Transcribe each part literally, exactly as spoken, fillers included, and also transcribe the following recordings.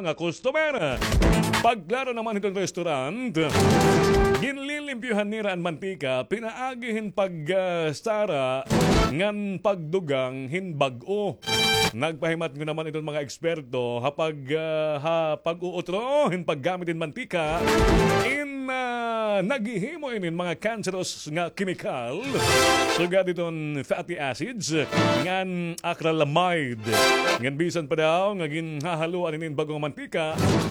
nga customer. Pagklaro naman hiton restaurant, ginlilimpyuhan nira an mantika pinaagi hin pagsara ngan pagdugang hin bag-o. Nagpahimatngon naman iton mga eksperto ha pag, ah, ha pag-uutro hin paggamit hin mantika in, ah, naghihimo inin mga cancerous nga kemikal, sugad iton fatty acids ngan acrylamide. Ngan bisan pa daw nga ginhahaluan inin bag-o nga mantika,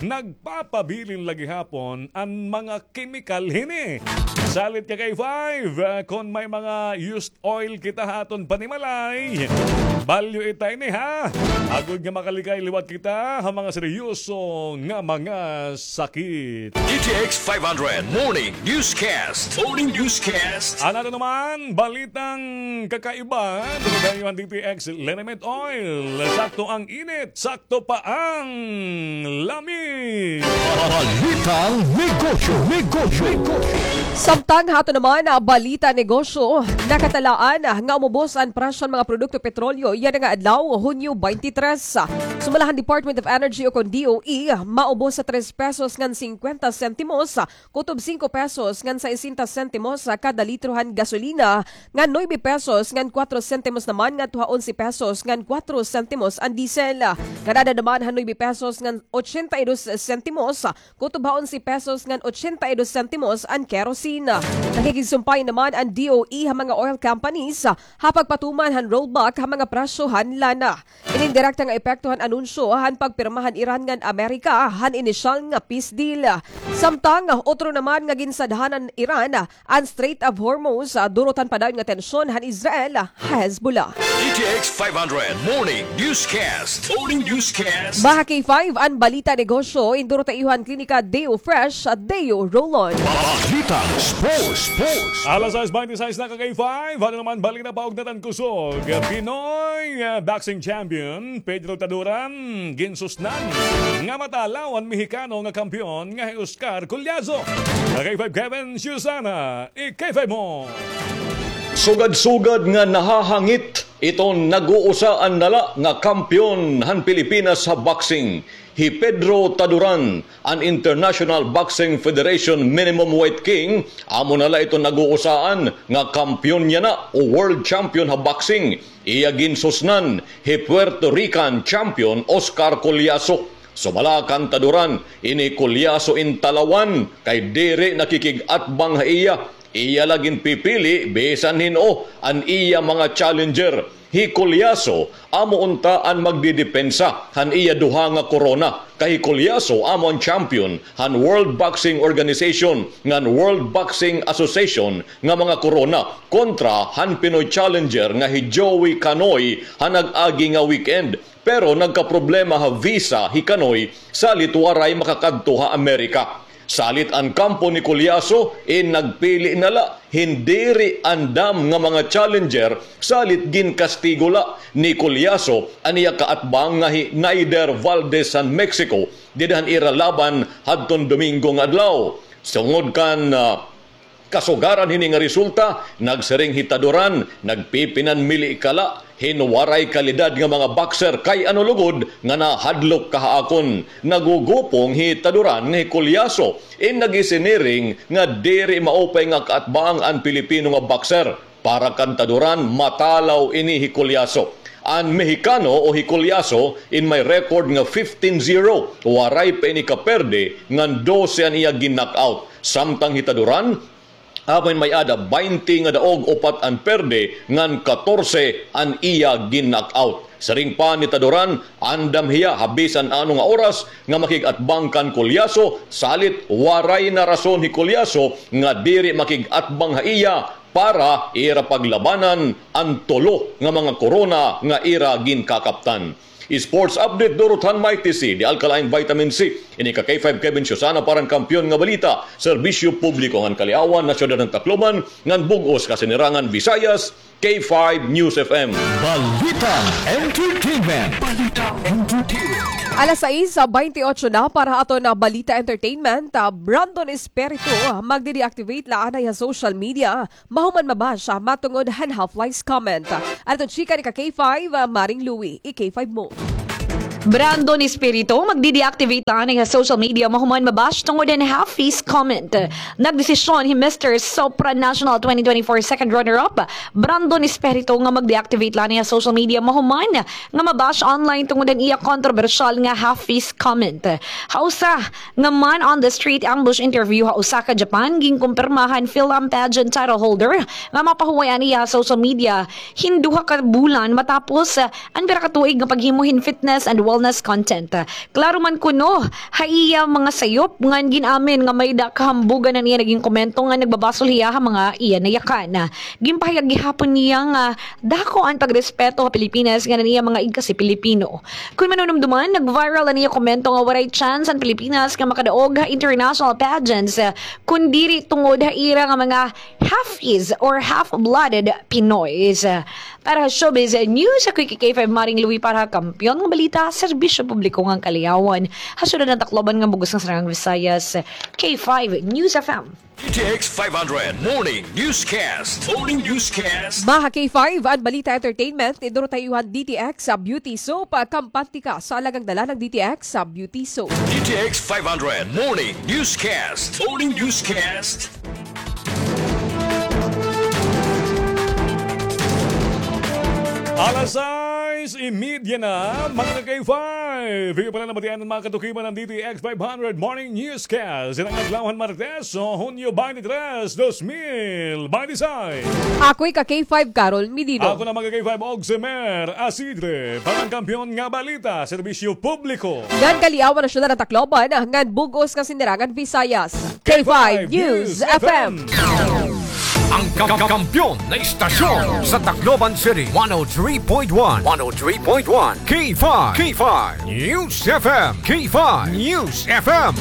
nagpapabilin la gihapon an mga kemikal hini. Salit ka kay five, ah, kon may mga used oil kita ha aton panimalay, balyo ita ini, ha? Agod nga makalikay liwat kita ha mga seryoso nga mga sakit. D T X five hundred Morning Newscast. Morning Newscast. An aton naman balitang kakaiba, duro dayon D T X Liniment Oil. Sakto ang init, sakto pa ang lami. Balitang negosyo, negosyo, negosyo. Samtang ha aton naman, ah, balita negosyo, nakatalaan, ah, nga umubos an presyo han mga produkto petrolyo yana nga adlaw, Hunyo twenty-three. Sumala han Department of Energy o kon D O E, maubos ha tres pesos ngan singkwenta sentimos, kutob singko pesos ngan sesenta sentimos kada litro han gasolina, ngan nuebe pesos ngan kuwatro sentimos naman ngadto ha onse pesos ngan kuwatro sentimos an diesel. Ngan-ada naman ha nuebe pesos ngan ochenta y dos sentimos, kutob ha onse pesos ngan ochenta y dos sentimos an kerosene. Nakikigsumpay naman an D O E ha mga oil companies ha pagpatuman han rollback ha mga presyo han lana. Inin direkta nga epekto han anunsyo han pagpirma han Iran ngan Amerika han inisyal nga peace deal. Samtang, utro naman nga ginsadhan han Iran an Strait of Hormuz, ah, durot han padayon nga tensyon han Israel, ah, Hezbollah. D T X five hundred Morning Newscast. Morning Newscast. Mga K five, an balita negosyo, indurot ha iyo han Klinika Deo Fresh, ah, Deo Roll-On. Balitang sports, sports. Alas sais bente sais na ka K five, ano naman balita pa ugnadan kusog. Pinoy, ah, boxing champion Pedro Taduran ginsusnan nga matalaw an Mexicano nga kampeon nga hi Oscar Collazo. Ka K five Kevin Susana, i-K five mo. Sugad-sugad nga nahahangit iton nag-uusaan na la nga kampeon han Pilipinas ha boxing, hi Pedro Taduran, an International Boxing Federation Minimum Weight King, amo na la iton nag-uusaan nga kampeon yana o world champion ha boxing. Iya ginsusnan hi Puerto Rican champion Oscar Collazo. Sumala kan Taduran, ini Collazo in talawan kay diri nakikig-atbang ha iya. Iya la ginpipili bisan hin-o an iya mga challenger. Hi Collazo amo unta an magdidepensa han iya duha nga korona. Kay hi Collazo amo an champion han World Boxing Organization ngan World Boxing Association nga mga korona kontra han Pinoy challenger nga hi Joey Canoy ha nag-agi nga weekend. Pero nagkaproblema ha visa hi Canoy, salit waray makakadto ha Amerika. Salit an kampo ni Collazo in nagpili na la hin diri andam nga mga challenger, salit ginkastigo la ni Collazo an iya kaatbang nga hi Neider Valdez han Mexico dida han ira laban hadton Domingo nga adlaw. Sungod kan, ah, kasugaran hini nga resulta, nagsiring hi Taduran, nagpipinanmili ka la hin waray kalidad nga mga boxer kay ano lugod nga nahadlok ka ha akon. Nagugupong hi Taduran nga hi Collazo in nag-isiniring nga diri maupay nga kaatbang an Pilipino nga boxer. Para kan Taduran, matalaw ini hi Collazo. An Mexicano o hi Collazo in may record nga fifteen zero, waray pa ini kaperde ngan dose an iya gin-knockout. Samtang hi Taduran, amo in may-ada baynte nga daog, upat an perde ngan katorse an iya gin-knockout. Siring pa ni Taduran, andam hiya ha bisan ano nga oras nga makig-atbang kan Collazo, salit waray na rason hi Collazo nga diri makig-atbang ha iya para ira paglabanan an tulo nga mga korona nga ira ginkakaptan. Sports update durot han Mighty C, The Alkaline Vitamin C. Ini ka K five Kevin Susana para han Kampiyon nga Balita, Serbisyo Publiko ngan Kaliawan, Nasyonal han Tacloban, ngan bug-os ka Sinirangan Visayas, K five News F M. Balitang Entertainment. Balitang Entertainment. Alas sais, ah, baynte otso na para ha aton, ah, Balita Entertainment. Ah, Brandon Espiritu, ah, magde-deactivate la anay ha social media. Mahuman mabash, ah, matungod han half-life comment. Aton chika ni ka K five, ah, Maring Louie, i-K five mo. Brandon Espiritu magdi-deactivate la anay ha social media mahuman ma-bash tungod han half-face comment. Nagdesisyon hi Mister Sopra National twenty twenty-four second runner-up, Brandon Espiritu, nga magdi-deactivate la anay ha social media mahuman nga ma-bash online tungod han iya kontrobersyal nga half-face comment. Ha usa nga man-on-the-street ambush interview ha Osaka, Japan, ginkumpirma han Film Pageant title holder nga mapahuway an iya ha social media hin duha ka bulan matapos, ah, an pira ka tuig nga paghimo hin fitness and wellness content. Klaro man kuno ha iya mga sayop ngan gin-amin nga may-ada kahambugan an iya naging komento nga nagbabasol hiya ha mga iya nayakan. Ginpahayag gihapon niya nga dako an pagrespeto ha Pilipinas ngan an iya mga igkasi Pilipino. Kon manunumduman, nag-viral an iya komento nga waray chance an Pilipinas nga makadaog ha international pageants, ah, kon diri tungod ha ira nga mga half-is or half-blooded Pinoys. Para ha Showbiz News, ako hi K five Maring Louie para ha Kampiyon nga Balita, Serbisyo Publiko ngan Kaliyawan. Ha syudad han Tacloban ngan bug-os nga Saraang Visayas, K five News F M. D T X five hundred Morning Newscast. Morning Newscast. Maha K five, an Balita Entertainment, iduro ta ha iyo han D T X sa Beauty Soap, kampante ka sa alagang dala ng D T X sa Beauty Soap. D T X five hundred Morning Newscast. Morning Newscast. Alas sais y media na, mga ka-K five. Iyo pala nabatian an mga katukiman han D T X five hundred Morning Newscast. Ining adlaw han Martes, so, Hunyo twenty-three, dos mil twenty-six. Ako hi ka-K five Carol Medino. Ako naman ka-K five Oximer Asidre. Para han Kampiyon nga Balita, Serbisyo Publiko ngan Kaliyawan ha syudad han Tacloban ngan bug-os nga Saraang Visayas, K five News F M. Ang ka-, ka-, kampiyon na istasyon sa Tacloban City, one oh three point one, one oh three point one, K five, K five News F M, K five News F M.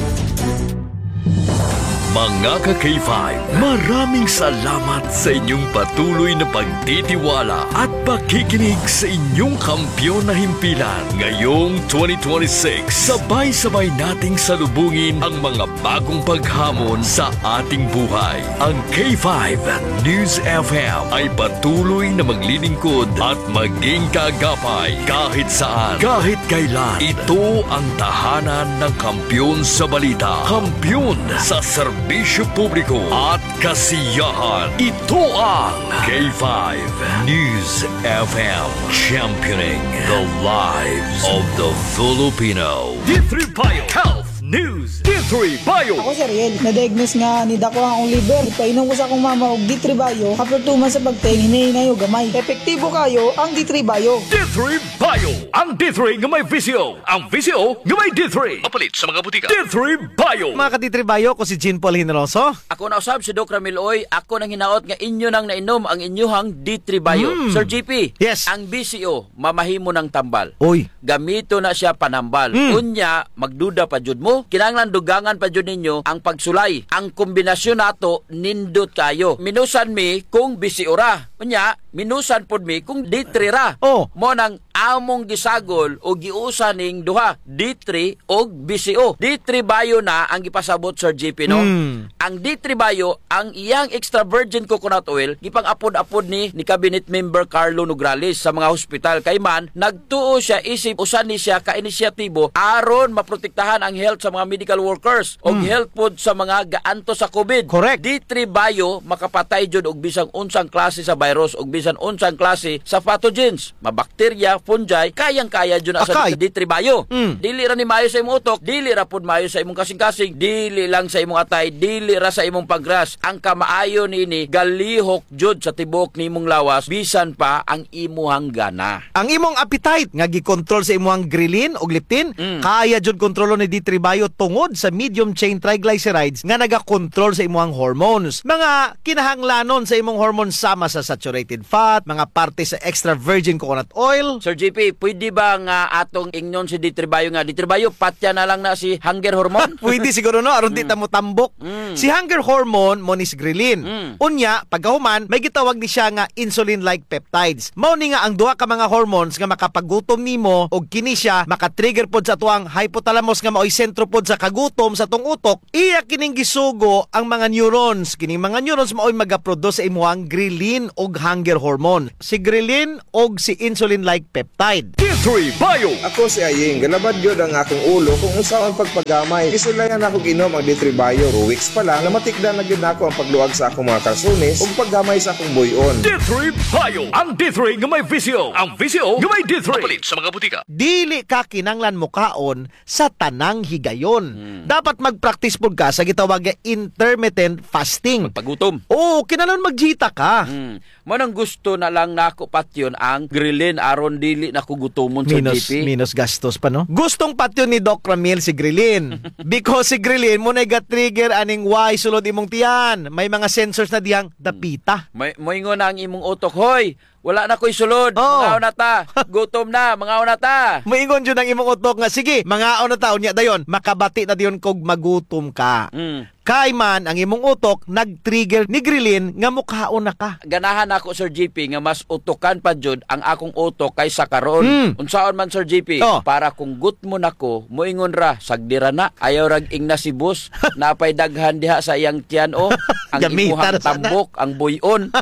Mga ka-K five, maraming salamat sa inyong patuloy na pagtitiwala at pakikinig sa inyong kampiyon na himpilan. Ngayong twenty twenty-six, sabay-sabay nating salubungin ang mga bagong paghamon sa ating buhay. Ang K five News F M ay patuloy na maglilingkod at maging kaagapay kahit saan, kahit kailan. Ito ang tahanan ng kampiyon sa balita, kampiyon sa serbisyo publiko at kasiyahan. Ito ang K five News F M, championing the lives of the Filipino. D three Bio Health News. D three Bio. Ako si Ariel. Na-diagnose nga nidako an akon liver. Ipainom ko sa akon mama og D three Bio. After two months sa pag-take, hinay-hinay og gamay. Epektibo kaayo ang D three Bio. D three Bio. Ang D three nga may V C O. Ang V C O nga may D three. Mapalit sa mga butika. D three Bio. Mga ka-D three Bio, ako si Jean Paul Generoso. Ako na usab si Doc Ramil Uy. Ako nang hinaot nga inyo nang nainom ang inyohang D three Bio. Mm. Sir G P, yes, ang V C O, mamahimo nang tambal. Oy. Gamito na siya panambal. Mm. Unya, magduda pa jud mo? Kinahanglan dugangan pa jud ninyo ang pagsulay. Ang kombinasyon nato, nindot kaayo. Minusan mi kung V C O ra. Unya, minusan pod mi kung D three ra. Oh. Mao nang among gisagol o giusa ning duha, D three og V C O. D three Bio na ang gipasabot, Sir G P, no? Mm. Ang D three Bio, ang iyang extra virgin coconut oil, gipang-apod-apod ni, ni Cabinet Member Carlo Nograles sa mga hospital. Kay man, nagtuo siya, isip usa ni siya ka inisyatibo aron maprotektahan ang health sa mga medical workers o, mm, health pod sa mga gaantos sa COVID. Correct. D three Bio, makapatay jud og bisan unsang klase sa virus, og bisan unsang klase sa pathogens. Mabakterya, fungi, kayang-kaya jud na sa D three Bio. Mm. Dili ra ni maayo sa imong utok, dili ra pud maayo sa imong kasingkasing, dili lang sa imong atay, dili ra sa imong pancreas. Ang kamaayo niini, galihok jud sa tibuok nimong lawas, bisan pa ang imuhang gana. Ang imong appetite nga gikontrol sa imuhang ghrelin ug leptin, mm, kaya jud kontrolon ni D three Bio tungod sa medium chain triglycerides nga nagakontrol sa imuhang hormones. Mga kinahanglanon sa imong hormones sama sa saturated fat, mga parte sa extra virgin coconut oil. Sir G P, pwede ba nga atong ingnon si D three Bio nga, "D three Bio, patya na lang na si hunger hormone"? Pwede siguro, no? Aron di ta motambok. Mm. Si hunger hormone, mao ni si ghrelin. Mm. Unya, pagkahuman, may gitawag ni siya nga insulin-like peptides. Mao ni nga ang duha ka mga hormones nga makapagutom nimo, og kini siya makatrigger pod sa atoang hypothalamus nga maoy sentro Upod sa kagutom sa atong utok, iya kining gisugo ang mga neurons. Kining mga neurons maoy magaproduce sa imuhang ghrelin og hunger hormone. Si ghrelin og si insulin-like peptide. D three Bio. Ako si Aying. Galabad gyud ang akong ulo kung unsaon pagpagamay. Gisulayan nako og inom ang D three Bio. Two weeks pa lang, namatikdan na gyud nako ang pagluag sa akong mga kalsones ug paggamay sa akong buy-on. D three Bio. Ang D three nga may visyo. Ang visyo nga may D three. Mapalit sa mga butika. Dili ka kinanglan mokaon sa tanang higayon. Hmm. Dapat mag-practice pud ka sa gitawag nga intermittent fasting. Magpagutom. Oo, kinahanglan magjita ka. Hmm. Mao nang gusto na lang nako patyon ang ghrelin aron dili na ko gutomon, Sir Minos, G P. Minos gastos pa, no? Gustong patyon ni Doc Ramil si ghrelin. Because si ghrelin mao nay ga-trigger aning way sulod imong tiyan. May mga sensors na dihang dapita. May, moingon na ang imong utok, "Hoy, wala na ko'y sulod. Oo. Mangaon na ta. Gutom na. Mangaon na ta." Moingon jud ang imong utok nga, "Sige, mangaon na ta." Unya dayon, makabati na dayon kog magutom ka. Mm. Kay man, ang imong utok nag-trigger ni ghrelin nga mokaon na ka. Ganahan ako, Sir G P, nga mas utokan pa jud ang akong utok kaysa karon. Mm. Unsaon man, Sir G P? Oh. Para kung gutmon ako, moingon ra, "Sagdi ra na. Ayaw rag ingna si boss. Naa pay daghan diha sa iyang tiyan, oh." Ang imuhang tambok, ang buy-on.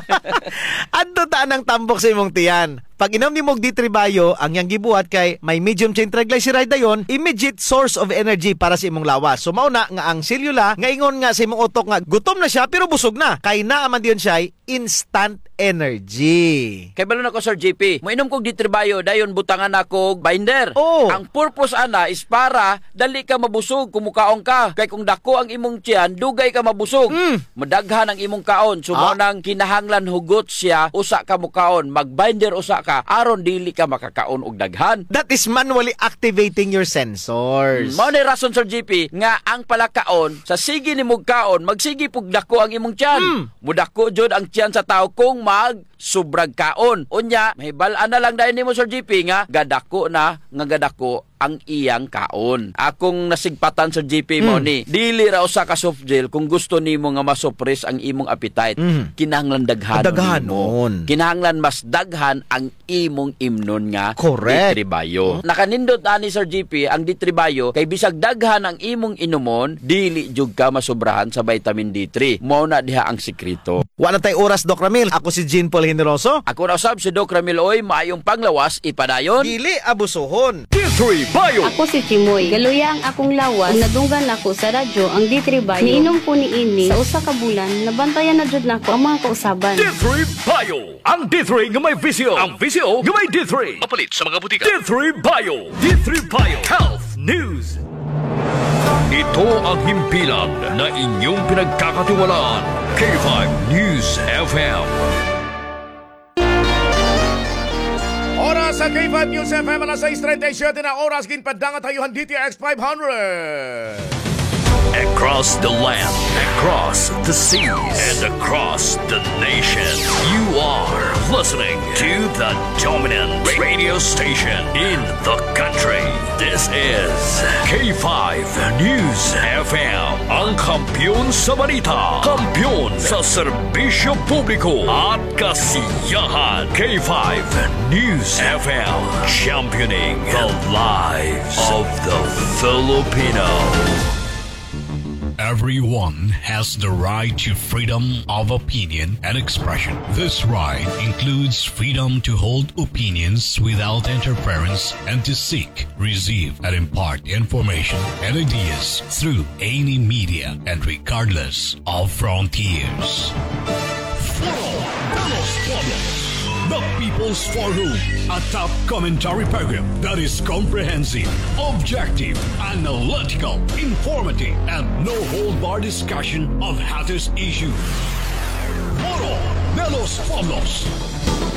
Adto ta anang tambok sa imong tiyan. Pag-inom nimo og D three Bio, ang iyang gibuhat kay may medium chain triglyceride dayon, immediate source of energy para sa imong lawas. So, mao na nga ang selula nga ingon nga sa imong utok nga gutom na siya pero busog na. Kay naa man dayon siya instant energy. Kay balo na ko, Sir G P. Moinom kog D three Bio, dayon butangan nako og binder. Oh. Ang purpose ana is para dali ka mabusog kung mukaon ka. Kay kung dako ang imong tiyan, dugay ka mabusog. Mm. Madaghan ang imong kaon. So, mao nang kinahanglan hugot siya, usa ka mukaon, mag-binder usa ka, aron dili ka makakaon og daghan. That is manually activating your sensors. Mao ni rason, Sir G P, nga ang palakaon, sa sige nimog kaon, magsige pug dako ang imong tiyan. Mm. Mudako jud ang tiyan sa tawo kung mag sobrag kaon. Unya, mahibal-an na lang dayon nimo, Sir G P, nga gadako na, nga gadako ang iyang kaon. Akong nasigpatan, Sir G P, mao ni, dili ra usa ka soft gel kung gusto nimo nga masupres ang imong appetite. Mm. Kinahanglan daghanon nimo. Daghanon. Kinahanglan mas daghan ang imong imnon nga D three Bio. Correct. Nakanindot ani, Sir G P, ang D three Bio kay bisag daghan ang imong inumon, dili jud ka masobrahan sa vitamin D three. Mao na diha ang sikreto. Wa na tay oras, Doc Ramil. Ako si Jean Paul Generoso. Ako na usab si Doc Ramil Uy. Maayong panglawas, ipadayon. Dili abusohon. D three Bio. Ako si Chimoy. Galuya ang akong lawas. Ug nadunggan nako sa radyo ang D three Bio. Niinom ko niini sa usa ka bulan. Nabantayan na jud nako ang mga kausaban. D three Bio. Ang D three nga may visyo. Ang visyo nga may D three. Mapalit sa mga butika. D three Bio. D three Bio. Health News. Ito ang himpilan na inyong pinagkakatiwalaan, K five News F M. Oras sa K five News F M, alas sais treinta y siete na oras, ginpadangat ha iyo han D T X five hundred. Across the land, across the seas, and across the nation, you are listening to the dominant radio station in the country. This is K five News F M, ang kampiyon sa balita, kampiyon sa serbisyo publiko at kasiyahan. K five News F M, championing the lives of the Filipino. Everyone has the right to freedom of opinion and expression. This right includes freedom to hold opinions without interference and to seek, receive, and impart information and ideas through any media and regardless of frontiers. Foro de los Pueblos, the People's Forum, a top commentary program that is comprehensive, objective, analytical, informative, and no-hold-bar discussion of hottest issues. Foro de los Pueblos.